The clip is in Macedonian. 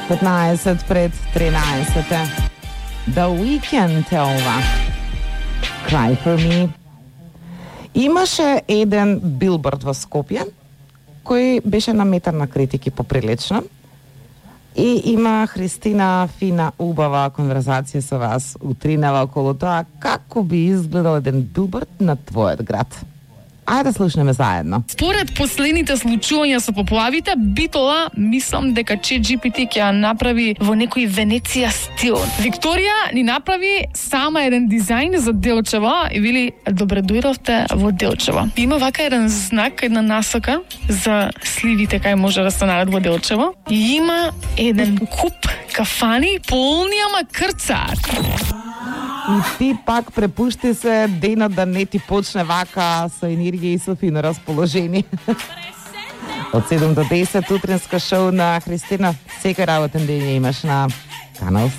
15 пред 13. The Weeknd е ова. Cry for me. Имаше еден билборд во Скопје кој беше наметан на критики поприлично. И има Христина фина убава конверзација со вас утринава околу тоа како би изгледал еден билборд на твојот град. Ајде да слушнеме заедно. Според последните случувања со поплавите, Битола, мислам дека ChatGPT ќе ја направи во некој Венеција стил. Викторија ни направи сама еден дизајн за Делчево и вели добре дојдовте во Делчево. Има вака еден знак, една насока за сливите кај може да се најдат во Делчево. И има еден куп кафани полни ама крцат. И ти пак препушти се денот да не ти почне вака со енергија и со фино расположение. Од 7 до 10 утринско шоу на Христина. Секој работен ден имаш на Канал Си.